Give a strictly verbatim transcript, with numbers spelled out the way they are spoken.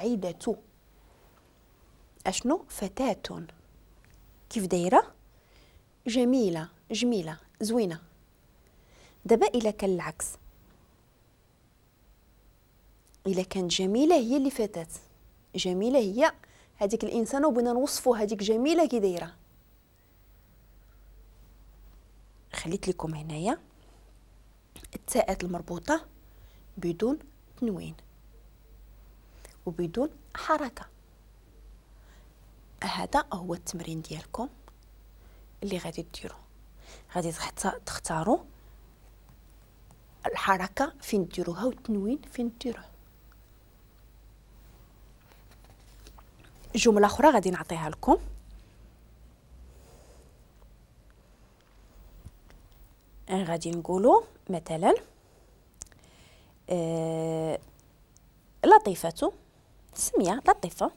سعيدة أشنو؟ فتاة. كيف دايرة؟ جميلة، جميلة، زوينة. دابا إلا كان العكس، إلا كانت جميلة هي اللي فتاة، جميلة هي هذيك الإنسانة وبغينا نوصفوا هذيك جميلة كي دايرة. خليت لكم هنايا التاءات المربوطة بدون تنوين وبدون حركة. هذا هو التمرين ديالكم اللي غادي ديروا، غادي تختاروا الحركة فين ديروها والتنوين فين ديروه. جملة أخرى غادي نعطيها لكم. غادي نقولوا مثلا آه لطيفة، سمية لطيفة،